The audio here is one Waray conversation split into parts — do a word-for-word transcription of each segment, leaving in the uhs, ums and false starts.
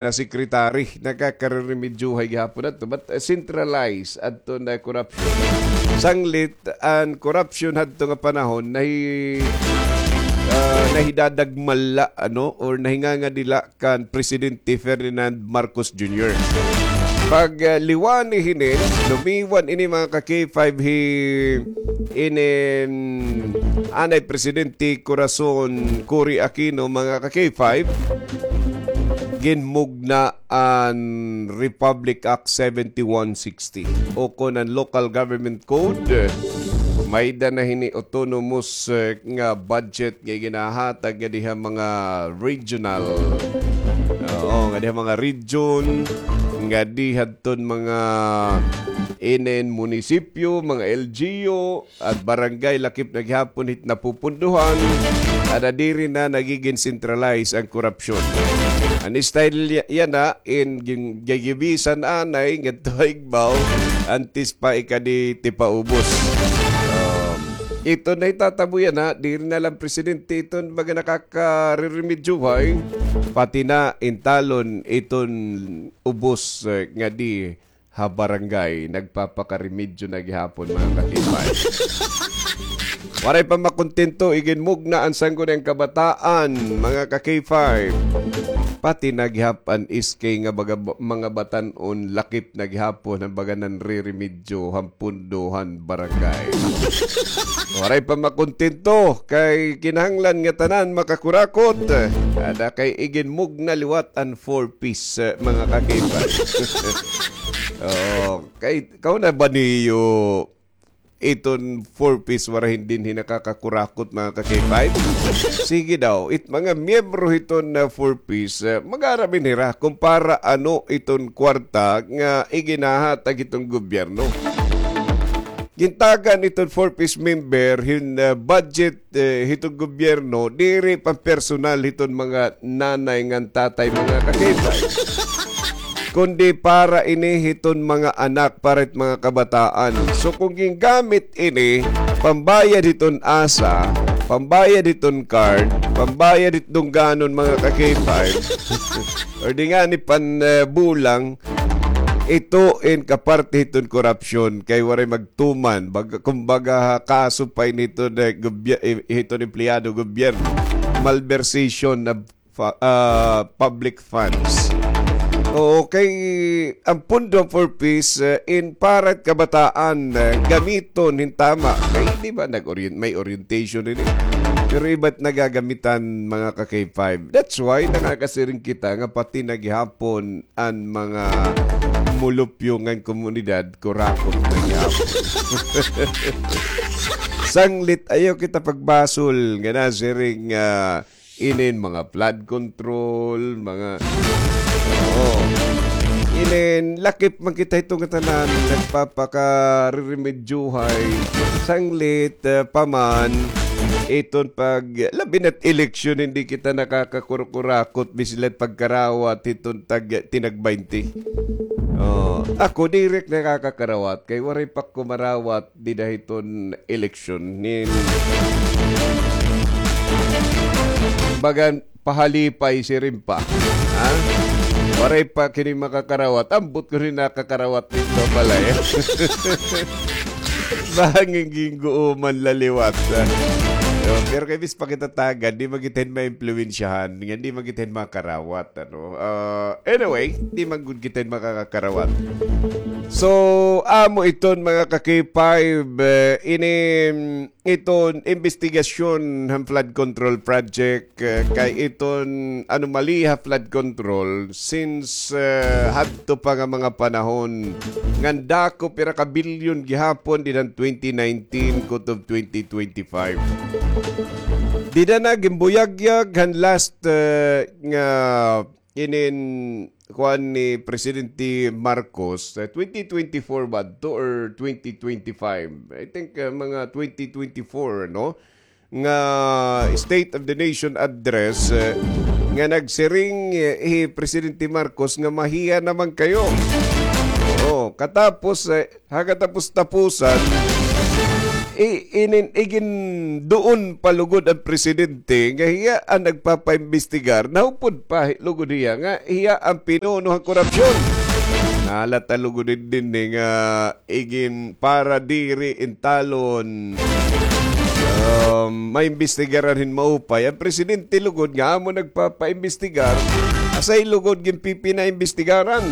na secretary, nakakareremedyohay gihapon adto. But, uh, centralized adto na corruption. Sanglit an corruption hadto nga panahon, nahi-, uh, nahidadagmal la, ano, or nahingangadila kan Presidente Ferdinand Marcos Junior. Pag, uh, liwani hinin, lumiwan ini, mga ka-K five, hi-, inin anay Presidente Corazon Cory Aquino, mga ka-K five, ginmugna an Republic Act seventy-one sixty, o kon an Local Government Code. May-ada na hini autonomous, eh, nga budget nga ginahatag ngadi ha mga regional. Oo, ngadi ha mga region, ngadi hadton mga inin munisipyo, mga L G U, at barangay, lakip na gihapon hit napupunduhan, ada diri na nagigin centralized an korupsyon. An style ya-, yana, in gin-, gigibisan anay, ngadto ha igbaw, antes pa ikadi tipaubos. Um, ito na itatabo yana, diri na lang presidente iton baga nakakareremedyohay, pati na intalon iton ubos, eh, ngadi ha barangay, nagpapakaremedyo na gihapon, mga ka-K five. Waray pa makontento, iginmugna an Sangguniang Kabataan, mga ka-K five. Pati na gihap an S K nga baga-, mga batan-on, lakip na gihapon han baga nanreremedyo han pundo han barangay. Waray pa makontento, kay kinahanglan nga tanan makakurakot. Ada kay iginmugna liwat an four Ps, eh, mga ka-K five. Oo, kay, kauna ba niyo iton four Ps waray dinhi nakakakurakot, mga ka-K five? Sige daw, it mga miyembro hiton na four Ps, eh, mag-aram hira kung para ano iton kwarta nga iginahatag hiton gobyerno. Gintagan iton four Ps member hin, eh, budget, eh, hiton gobyerno, diri pampersonal hiton mga nanay ngan tatay, mga ka-K five. Kundi para ini hiton mga anak, para hit mga kabataan. So, kung gingamit ini, pambayad hiton ASA, pambayad hiton card, pambayad hit dungganon, mga ka-K five, or di ngani pan, eh, bulang, ito in kaparte hiton korupsyon, kay waray magtuman. Bag-, kumbaga, kaso pa ini hiton, eh, gobye-, eh, hiton empleyado gobyerno. Malversation of fa-, ah, public funds. Oo, kay an pundo four Ps, eh, in para kabataan, eh, gamiton hin tama. Kay di ba nag-orient-, may orientation ini? Pero iba it nagagamitan, mga ka-K five. That's why nakakasiring kita nga pati na gihapon an mga mulupyo ngan komunidad, kurakot na gihapon. Sanglit, ayaw kita pagbasol nga nasiring, ah, inin mga flood control, mga, oo. Inin, lakip man kita hito nga tanan, nagpapakareremedyohay, sanglit, eh, pa man, iton pag, labi na't eleksyon, hindi kita nakakakurukurakot, bisan la pagkarawat, hiton tag, tinag baynte. Oh, ako, diri ak nakakakarawat, kay waray pa ko marawat, dida hiton eleksyon nin bagan pahalipay siring pa. Ha? Waray pa kini makakarawat. Ambot ko rin nakakarawat dito pala, eh. Bangin ginguuman la liwat, ha? Pero kay bis pa kita tagan, di man kita hin maimpluwensyahan, nga di man kita hin makarawat, ano. Ah, anyway, di man gud kita hin makakarawat. So, amo iton, mga ka-K five, eh, ini, iton imbestigasyon han flood control project, eh, kay iton anomaly ha flood control since, eh, hadto pa nga mga panahon ngan dako pira ka bilyon gihapon dida han twenty nineteen kutob twenty twenty-five. Dida na ginbuyagyag han last, eh, nga inin kuan ni Presidente Marcos, eh, twenty twenty-four ba to or twenty twenty-five? I think, eh, mga twenty twenty-four, no? Nga State of the Nation Address, eh, nga nagsiring, eh, hi Presidente Marcos nga mahiya naman kayo. Oo, katapos, eh, ha katapos-tapusan, i-, inin-, iginduon pa lugod an presidente nga hiya an nagpapaimbestigar, nahupod pa hi-, lugod hiya nga hiya an pinuno han korupsyon. Nahalata lugod dinhi nga igin para diri intalon, um, maimbestigaran hin maupay. An presidente lugod nga amo nagpapaimbestigar, asay lugod ginpipinaimbestigaran.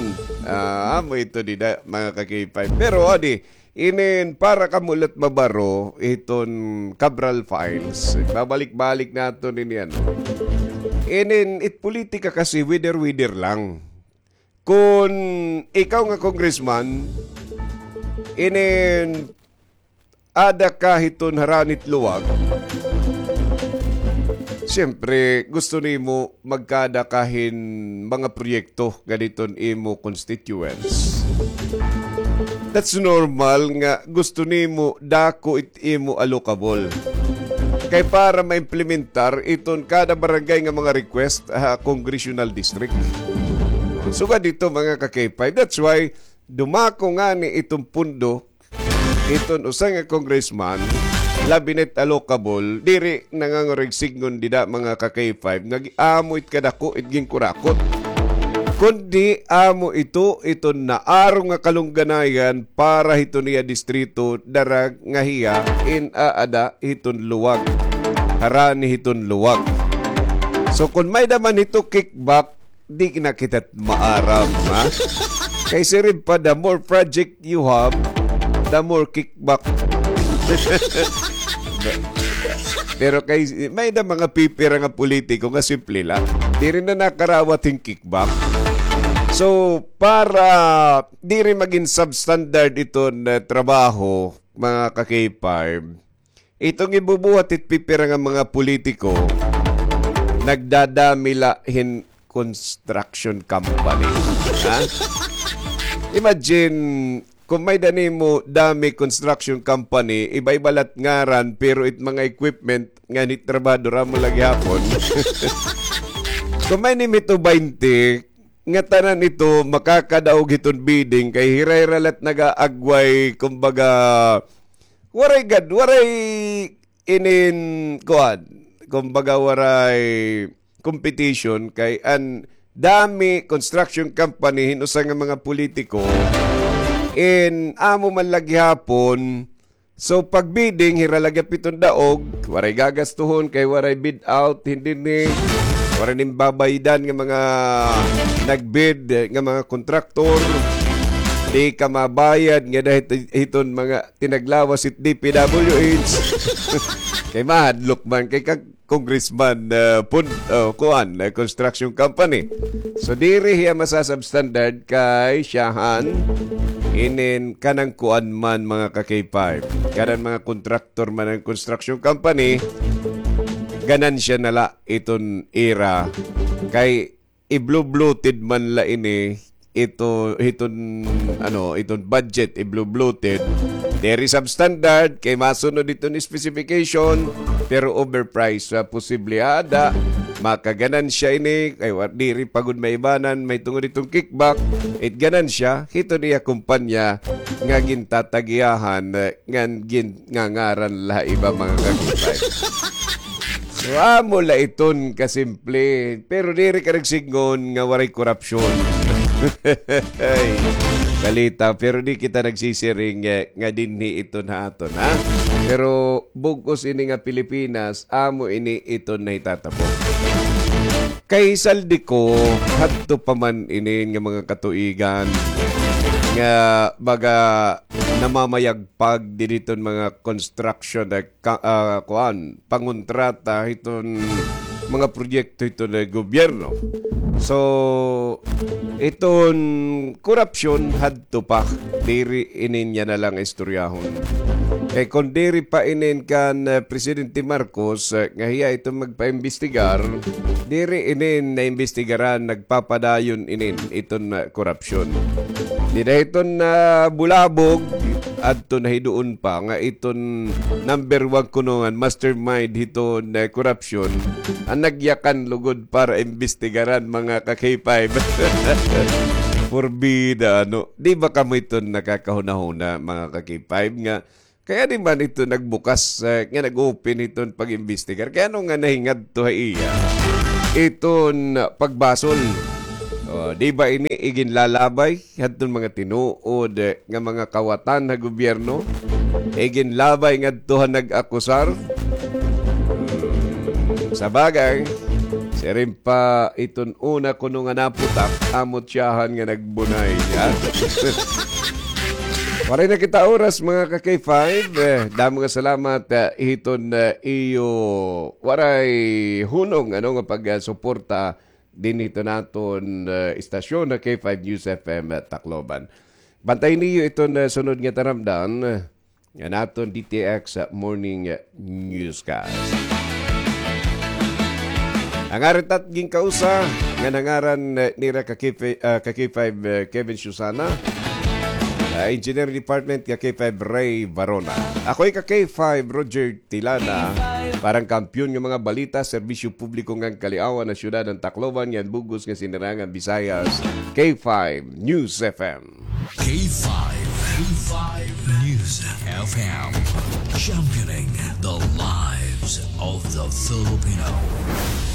Ah, amo ito dida, mga ka-K five. Pero, adi, inin para kamo la it mabaro, iton Cabral Files. Babalik-balik naton ini, ano. Inin, it politika kasi, whether-whether lang. Kon ikaw nga congressman, inin ada ka hiton harani hit luwag, siyempre, gusto nimo magkaada ka hin mga proyekto ngadto han imo constituents. That's normal nga gusto nimo dako it imo allocable. Kay para maimplementar iton kada barangay nga mga request ha congressional district. Sugad hito, mga ka-K five. That's why dumako ngani iton pundo iton usa nga congressman, labi na it allocable, diri nangangurigsignon dida, mga ka-K five, nga gi-, amo it kadako it ginkurakot. Kundi amo ito, iton naarong nga kalungganayan para hiton iya distrito, darag nga hiya in-aada hiton luwag. Harani hiton luwag. So, kon may-ada man hito kickback, di na kita maaram, ha? Kay siring pa, the more project you have, the more kickback. Pero kay, may-ada mga pipira nga politiko nga simple la. Diri na nakarawat hin kickback. So, para diri magin substandard iton, eh, trabaho, mga ka-K five, iton gibubuhat hit pipira nga mga politiko, nagdadami la hin construction company. Ha? Imagine, kon may-ada nimo dami construction company, iba-iba la it ngaran, pero it mga equipment ngan it trabahador, amo la gihapon. Kon may-ada nimo hito baynte, nga tanan ito makakadaog hiton bidding, kay hira-hira la it nag-aagway, kumbaga, waray gad, waray inin, kuan, kumbaga, waray competition, kay an dami construction company hin usa nga mga politiko, in amo man la gihapon. So, pag bidding, hira la gihap iton daog, waray gagastuhon kay waray bid out, hindi ni, waray nin babaydan nga mga nag-bid, nga mga kontraktor, di ka mabayad nga dahil hiton mga tinaglawas it D P W H. Kay mahadlok man kay kag congressman, ah, pun-, oh, kuan, ah, construction company. So, diri hiya masasubstandard kay siyahan inin kanan kuan man, mga ka-K five. Kanan mga kontraktor man an construction company, ganansya na la iton ira. Kay i-blue-bloated man la ini, ito, iton, ano, iton budget, i-blue-bloated. Diri substandard, kay masunod iton specification, pero overpriced, sa posible ada, makaganansya ini, kay wa-, diri pa gud maibanan, mahitungod iton kickback, it ganansya, hiton iya kumpanya, nga gintatagiyahan, eh, ngan gin-, nga ngaran la iba, mga ka-K five. So, amo la iton kasimple. Pero diri ka nagsidngon nga waray korupsyon. Ay, balita, pero di kita nagsisiring, eh, nga dinhi iton ha aton, ha? Pero bug-os ini nga Pilipinas, amo ini iton nahitatabo. Kay Zaldy Co, hadto pa man ini nga mga katuigan nga baga namamayagpag didi hiton mga construction, eh, ka-, ah, kuan, pangontrata hiton mga proyekto hiton gobyerno. So, iton korupsyon hadto pa, diri ini niya na la istoryahon. Kay kon diri pa inin kan, eh, Presidente Marcos, eh, nga hiya iton magpaimbestigar, diri inin naimbestigaran, nagpapadayon inin iton, eh, korupsyon. Dida hiton, ah, bulabog, adto na hiduon pa nga iton number one kuno ngan mastermind hiton, eh, korupsyon, an nagyakan lugod para imbestigaran, mga ka-K five. Porbida, ano? Di ba kamo iton nakakahunahuna, mga ka-K five, nga Kay adi man ito nagbukas, eh, nga nag-open hiton pag-imbestigar. Kay ano nga nahingadto ha iya iton pagbasol? O, di ba ini iginlalabay hadton mga tinuod, eh, nga mga kawatan ha gobyerno? Iginlabay ngadto ha nag-akusar? Sa bagay, siring pa iton una kuno nga naputak, amo tiyahan nga nagbunay, ha? Waray na kita oras, mga ka-K five. Eh, damo nga salamat, eh, hiton, eh, iyo waray hunong, ano, nga pagsuporta dinhi hiton aton, eh, istasyon na K five News F M, eh, Tacloban. Bantay niyo iton, eh, sunod nga taramdan, eh, nga naton D T X, eh, Morning, eh, Newscast. Ang arat at ginkausa nga nangaran, eh, nira ka K five, ah, ka K five, eh, Kevin Susana, ah, Engineering Department ka K five Ray Varona. Ako'y ka K five Roger Tilana. Parang kampiyon nga mga balita, serbisyo publiko ngan kaliawan na syudad ng Tacloban, ngan bug-os nga sinirangan Visayas, K five News F M. K five, K five News F M, championing the lives of the Filipino.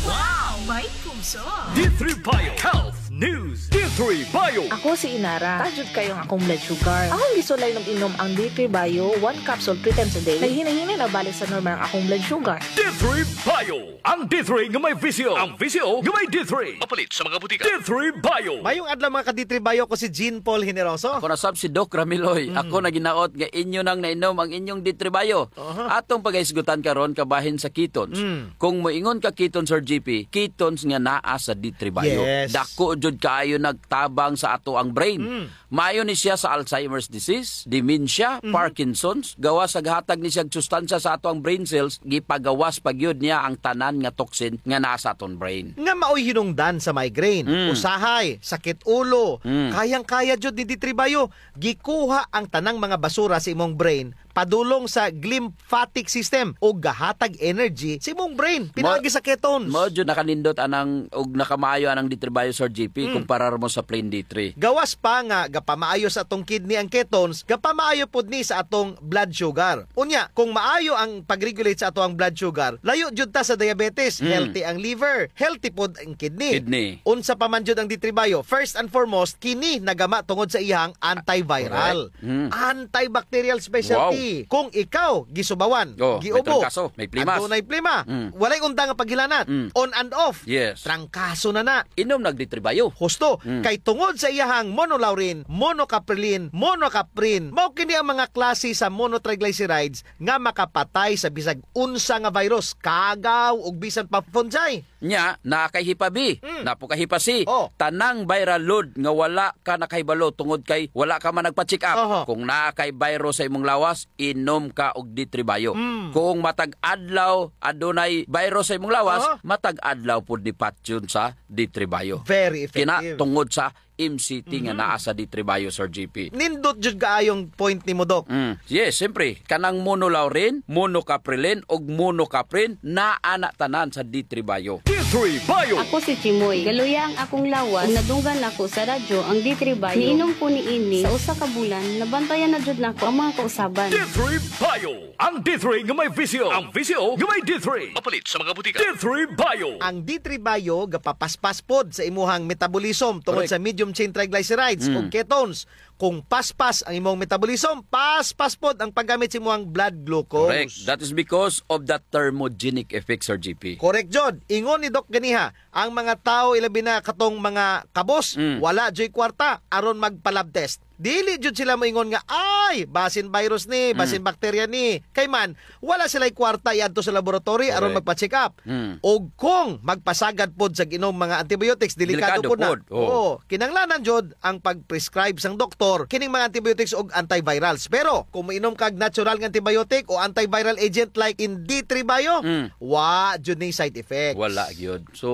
Wow! May puso! D three Bio Health News. D three Bio. Ako si Inara. Taas jud kaayo ang akong blood sugar. Akong gisulay inom-inom ang D three Bio, one capsule three times a day. Naghinay-hinay na balik sa normal ang akong blood sugar. D three Bio. Ang D three nga may visyo. Ang visyo nga may D three. Mapalit sa mga butika. D three Bio. Mayong adlaw, mga ka-D three Bio, ko si Jean Paul Generoso. Ako na sab si Doc Ramiloy. Mm. Ako na ginaot nga inyo nang nainom ang inyong D three Bio. Aha. Atong pagahisgutan karon kabahin sa ketones. Mm. Kung moingon ka ketones, Sir G P, ketones nga naa sa D three Bio. Yes. Dako jud kaayo nagtabang sa ato ang brain. Mm. Maayo ni siya sa Alzheimer's disease, dementia, mhm, Parkinson's. Gawas sa gahatag ni siya sustansya sa ato ang brain cells, gipagawas pa gyud niya ang tanan nga toxin nga naa sa aton brain. Nga maoy hinungdan sa migraine, mm, usahay, sakit ulo, mm, kayang-kaya jud ni D three Bio. Gikuha ang tanang mga basura sa imong brain padulong sa glymphatic system ug gahatag energy sa imong brain pinaagi sa ketones. Mao jud nakanindot anang ug nakamaayo anang D three Bio, Sir G P, mm, kumpara mo sa plain D three. Gawas pa nga gapamaayo sa atong kidney ang ketones, gapamaayo pod ni sa atong blood sugar. Unya, kung maayo ang pag-regulate sa ato ang blood sugar, layo jud ta sa diabetes, mm, healthy ang liver, healthy pod ang kidney. Kidney. Unsa pa man jud ang D three Bio? First and foremost, kini nagama tungod sa iyang antiviral. Correct. Mm. Antibacterial specialty. Wow. Kung ikaw gisubawan, oh, may giubo, trangkaso, may plimas, adunay plima, mm, walay unda nga paghilanat, mm, on and off, yes, trangkaso na na. Inom nag D three Bio. Husto, mm, kay tungod sa iyahang monolaurin, monocaprilin, monocaprin, mao kini ang mga klase sa monotriglycerides nga makapatay sa bisag unsa nga virus, kagaw ug bisan pa fungi. Nya, naa kay Hepa B, mm, naa pod kay Hepa C. Oh. Tanang viral load nga wala ka nakahibalo tungod kay wala ka man nagpa-check up. Aha. Kung naa kay virus sa imong lawas, inom ka og D three Bio. Mm. Kung matag adlaw adunay virus sa imong lawas, aha, matag adlaw pod ni patyon sa D three Bio. Very effective. Kina tungod sa M C T nga, mhm, naa sa D three Bio, Sir G P. Nindot jud kaayong point nimo, Doc. Mm. Yes, siyempre, kanang monolaurin, monocaprilin, ug monocaprin, naa na tanan sa D three Bio. D three Bio. Ako si Chimoy. Galuya ang akong lawas. Ug nadunggan nako sa radyo ang D three Bio. Niinom ko niini sa usa ka bulan, nabantayan na jud nako ang mga kausaban. D three Bio. Ang D three nga may visyo. Ang visyo nga may D three. Mapalit sa mga butika. D three Bio. Ang D three Bio gapapaspas pod sa imuhang metabolism tungod, correct, sa medium chain triglycerides, mm, o ketones. Kung paspas ang imong metabolism, paspas pod ang paggamit sa imuhang blood glucose. Correct. That is because of the thermogenic effect, Sir G P. Correct jud. Ingon ni Doc ganiha, ang mga tawo, ilabi na katong mga kabos, mm, wala juy kwarta aron magpa-lab test. Dili jud sila moingon nga, "Ay, basin virus ni, basin, mm, bakterya ni." Kay man, wala sila'y kwarta iadto sa laboratory aron, correct, magpa-check up. Mm. Og kung magpasagad pod sa inom mga antibiotics, delikado, delikado pod na pod. Oo. Oo, kinahanglanan jud ang pag-prescribe sang doktor kining mga antibiotics og antivirals. Pero kung moinom kag natural nga antibiotic o antiviral agent like in D three Bio, mm, wa jud ni side effects. Wala gyud. So,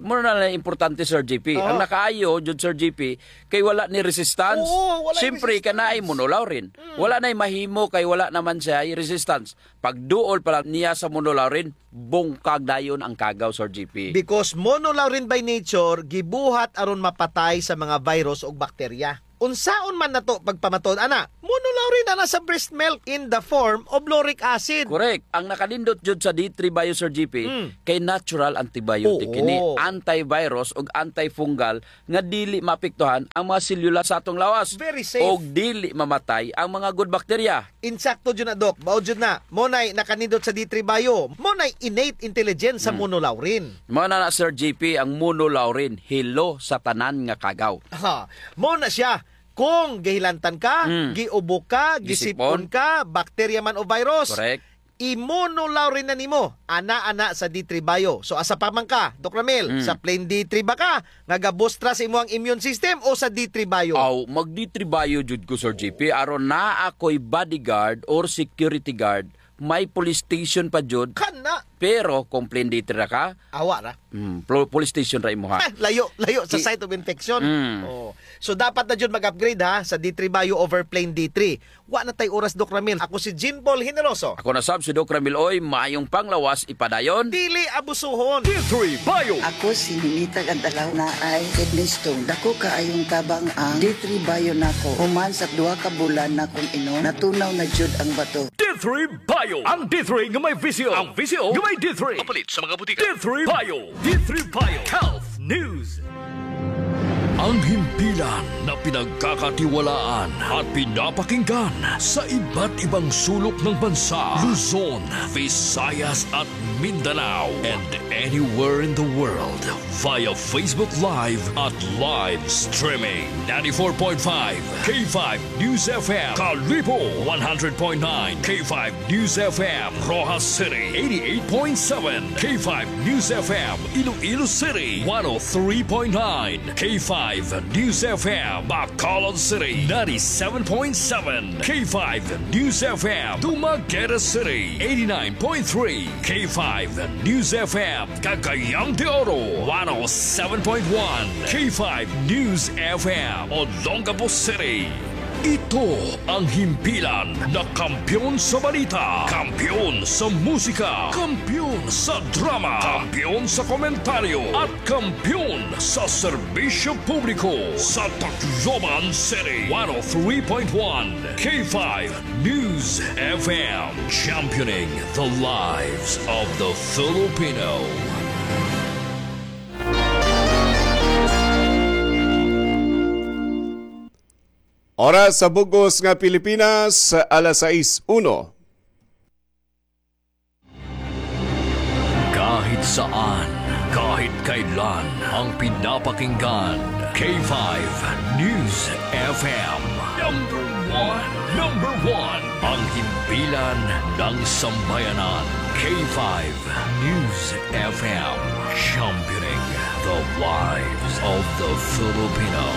mao na lang importante, Sir G P. Oo. Ang nakaayo jud, Sir G P, kay wala ni resistance. Oo, wala ni resistance. Siyempre, kay naay monolaurin. Mm. Wala nay mahimo kay wala naman siya resistance. Pagduol pa lang niya sa monolaurin, bungkag dayon ang kagaw, Sir G P. Because monolaurin by nature, gibuhat aron mapatay sa mga virus ug bakterya. Unsaon man nato pagpamatud ana? Monolaurin ana sa breast milk in the form of lauric acid. Correct. Ang nakanindot jud sa D three Bio, Sir G P, Mm. kay natural antibiotic Oo. ini, antivirus ug antifungal nga dili maapektuhan ang mga selula sa atong lawas. Very safe. Ug dili mamatay ang mga good bacteria. Insakto jud na, Doc. Mao jud na. Mao nay nakanindot sa D three Bio. Mao nay innate intelligence sa Mm. monolaurin. Mao na na, Sir G P, ang monolaurin, hilo sa tanan nga kagaw. Ha, mao na siya. Kung gihilantan ka, Mm. giubo ka, Gisipon. gisipon ka, bakterya man o virus, Correct. i-monolaurin na nimo, ana, ana sa D three Bio. So, asa pa man ka, Doc Ramil? Mm. Sa plain D three ba ka, nga gabustra sa imo ang immune system o sa D three Bio? Aw, mag D three Bio jud ko, Sir G P. Aron naa ako'y bodyguard or security guard, may police station pa jud. Kana. Pero kung plain D three ra ka, Awa ra. Mm, plo-, police station ra imuha. Ah, layo, layo sa Ki- site of infection. Mm. Oh. So, dapat na jud mag-upgrade, ha, sa D three Bio over plain D three. Wa na tay oras, Doc Ramil. Ako si Jean Paul Generoso. Ako na sab si Doc Ramil Oy, maayong panglawas, ipadayon. Dili abusuhon. D three Bio. Ako si Ninita Gantalaw, naay kidney stone. Dako kaayong tabang ang D three Bio nako. Human sa duha ka bulan nakong inom, natunaw na jud ang bato. D three Bio. Ang D three nga may V C O. Ang V C O nga may D three. Mapalit sa mga butika. D three Bio. D three Bio. Health News. Ang himpilan na pinagkakatiwalaan at pinapakinggan sa iba't ibang sulok ng bansa, Luzon, Visayas at Mindanao, and anywhere in the world via Facebook Live at live streaming. Ninety-four point five K five News F M, Kalibo, one hundred point nine K five News F M, Roxas City, eighty-eight point seven K five News F M, Iloilo City, one oh three point nine K five News F M, Bacolod City, ninety-seven point seven K five News F M, Dumaguete City, eighty-nine point three K five News F M, Cagayan de Oro, one oh seven point one K five News F M, Olongapo City. Ito ang himpilan na kampiyon sa balita, kampiyon sa musika, kampiyon sa drama, kampiyon sa komentaryo, at kampiyon sa serbisyo publiko sa Tacloban City. One oh three point one K five News F M, championing the lives of the Filipino. Oras sa bug-os nga Pilipinas, alas sais uno. Kahit saan, kahit kailan, ang pinapakinggan, K five News F M. Number one, number one, ang himpilan ng sambayanan, K five News F M, championing the lives of the Filipino.